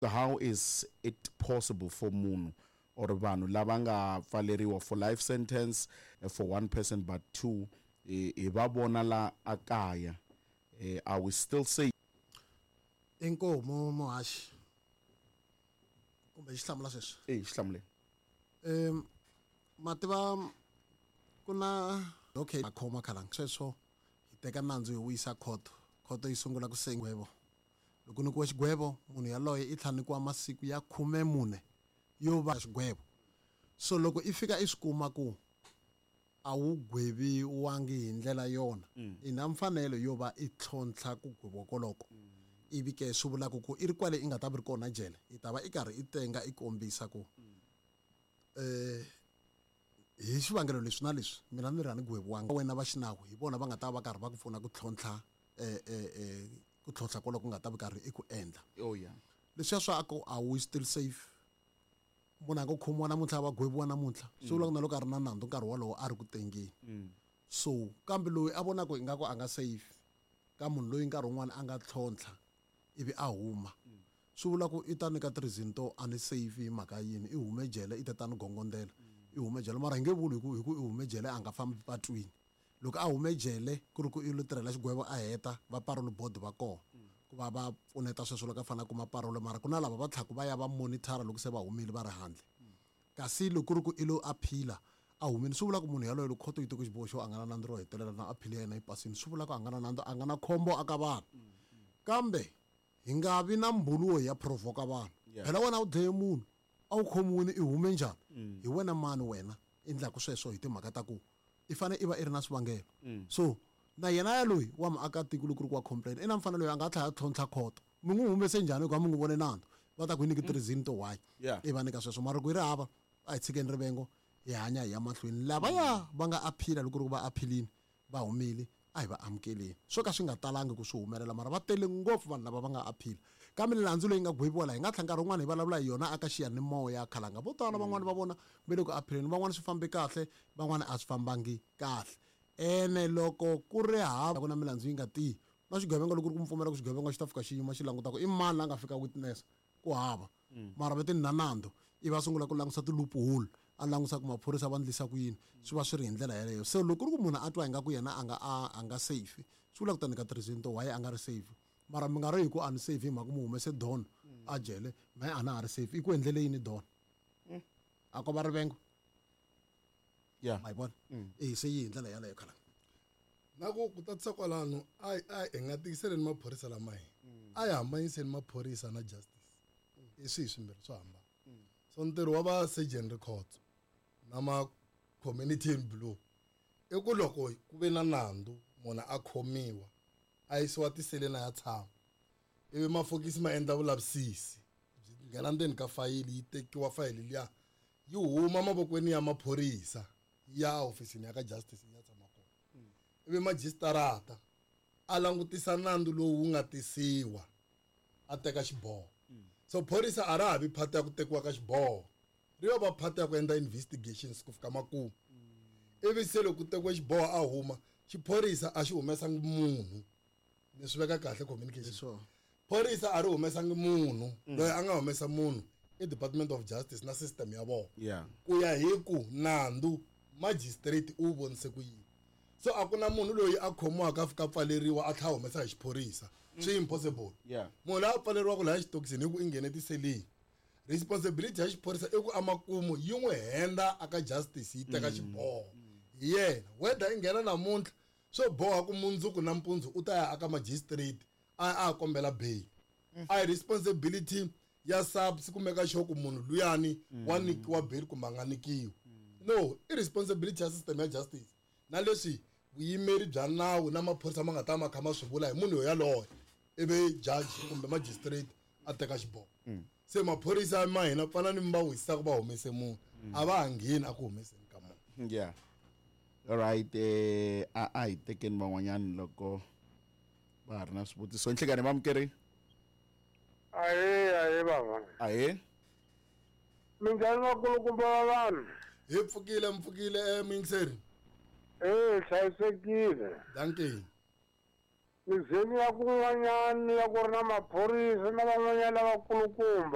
How is it possible for munhu or vanhu lava nga pfaleriwa for life sentence for one person but two hi va vona la a kaya are we still safe? Inkomu muhaxi kumbe xi hlamula sweswi. E xi hlamuleni. Ma tiva ku na okay a khoma khalanga sweswo hi teka nandzu hi wu yisa khoto, khoto yi sungula ku sengwebo. Loko nyikiwa xigwevo munhu yaloye i tlhela nyikiwa masiku ya 14 yo va xigwevo. So loko i fika i swi kuma ku a wu gweviwangi hi ndlela yona, i na mfanelo yo va i tlhontlha ku gweviwa koloko. Ivi ke swi vulaka ku i ri kwale i nga ta vi ri kona jele, i ta va i karhi i tenga i kombisa ku hi xivangelo leswi na leswi mina ni ri a ni gweviwanga. Wena va xinawu hi vona va nga ta va karhi va ku pfuna ku tlhontlha ku tlhontlha koloko ku nga ta vi karhi i ku endla. Oh, yeah. Leswiya swa ku a wu still safe, munhu a nga khomiwa namuntlha va gweviwa namuntlha, swi vula ku na loko a ri na nandzu nkarhi wolowo a ri ku tengeni. So kambe loyi a vonaka ingaku a nga safe ka munhu loyi nkarhi wun'wani a nga tlhontlha ivi a huma, swi vula ku i ta nyika ti-reason to a ni safe hi mhaka yini, i hume jele i ta ta ni gongondela, i hume jele. Mara hi nge vuli hi ku i hume jele a nga fambi patwini. Loko a hume jele ku ri ku i lo tirhela xigwevo a heta, va parole board va kona ku va va pfuneta sweswo loko a fanele a kuma parole, mara ku na lava va tlhaku va ya va monitor loko se va humile va ri handle. Kasi loko ku ri ku i lo appeal-a a humile, swi vula ku munhu yaloye loko khoto yi teke xiboho xo a nga na nandzu ro hetelela na appeal ya yena yi pasini, swi vula ku a nga na nandzu, a nga na khombo aka vanhu. Kambe hi nga vi na mbulu wo hi ya provoka vanhu. Phela wena u dlaye munhu, a wu khomiwile i hume njhani? Hi wena mani wena endlaku sweswo hi timhaka ta ku i fanele i va i ri na swivangelo. So na yena ya loyi wa muakatiko loko ku ri ku wa complain, i na mfanelo yo a nga tlhela a tlhontlha khoto. Mi n'wi humese njhani hikuva mi n'wi vone nandzu? Va ta ku hi nyiki ti-reason to why i va nyika sweswo. Mara loko yi ri hava, a hi tshikeni rivengo hi hanya hi ya mahlweni. Lavaya va nga appeal-a loko ku ri ku va appeal-ini va humile, a hi va amukeleni. Swo ka swi nga talangi ku swi humelela, mara va tele ngopfu vanhu lava va nga appeal. Kambe milandzu leyi nga gweviwa laha, hi nga tlhela nkarhi wun'wana hi vulavula hi yona aka xiyanimoya khalanga. Vo tala van'wana va vona va le ku appeal-eni, van'wana swi fambe kahle, van'wana a swi fambangi kahle. Ene loko ku ri hava ku na milandzu yi nga tiyi, na xigevenga loko ku ri ku mi pfumela ku xigevenga xi ta fika xi yima xi languta ku i mani la nga fika witness, ku hava. Mara va ti na nandzu, ivi va sungula ku langusa ti-loophole, a langusa ku maphorisa va ndlisa ku yini, swi va swi ri hi ndlela yeleyo. Se loko ku ri ku munhu a twa ingaku yena a nga a nga safe, swi vula ku ta nyika ti-reason to why a nga ri safe. Mara mi nga ri hi ku a ni safe hi mhaka mu humese don a jele, mehe a na ha ri safe. I ku endlele yini don? A ko va rivengo? Ma yi vona? E se yi hi ndlela yaleyo khala. Na ku tatisa kwalano, a hi nga tikiseleni maphorisa lama hi. A hi hambanyiseni maphorisa na justice. I swihi swimbirhi swo hambana. So ntirho wa va surgeon records na ma community in blue i ku loko ku ve na nandzu munhu a khomiwa a yisiwa tiseleni a ya tshama, ivi mafokisi ma endla vulavisisi byi nghena ndzeni ka fayili, yi tekiwa fayili liya yi huma mavokweni ya maphorisa ya ofisini ya ka justice ya tshama kona. Ivi majisitarata a langutisa nandzu lowu wu nga tisiwa a teka xiboho. So phorisa a ra ha vi phata ya ku tekiwa ka xiboho, ri yo va phata ya ku endla investigations ku fika makumu. Ivi se loko ku tekiwe xiboho a huma, xiphorisa a xi humesangi munhu. Ni swi veka kahle communication. Phorisa a ri humesangi munhu. Loyi a nga humesa munhu i Department of Justice na system ya vona. Ku ya hi ku nandzu magistrate u vonise ku yini. So a ku na munhu loyi a khomiwaka a fika pfaleriwa a tlhela humesa hi xiphorisa. Swi impossible. Munhu loyi a pfaleriwaka laha xitokisini hi ku i nghene tiseleni. Responsibility ya xiphorisa i ku amakumu yi n'wi henda aka justice yi teka xiboho. Hi yena whether i nghena namuntlha swo boha ku mundzuku na mpundzu u ta ya aka magistrate a kombela bail. A hi responsibility ya SAPS ku make sure ku munhu luyani wa nyikiwa bail kumbe a nga nyikiwi. No, i responsibility ya system ya justice. Na leswi vuyimeri bya nawu na maphorisa ma nga ta ma kha ma swi vula hi munhu yaloye, ivi judge kumbe magistrate a teka xiboho. Se maphorisa ma hina pfana ni va wisaka va humese munhu, a va ha ngheni a ku humeseni ka munhu. Yeah. All right, a hi tekeni van'wanyani loko va ha ri na swivutiso. Nhlekani vamukeri. Ahee, ahee bava. Ahee. Minjhani vakulukumba va vanhu? Hi pfukile, mpfukile muyingiseri. Hlayisekile. Dankie. Mizeni ya kun'wanyani ya ku ri na maphorisa na van'wanyana lavakulukumba.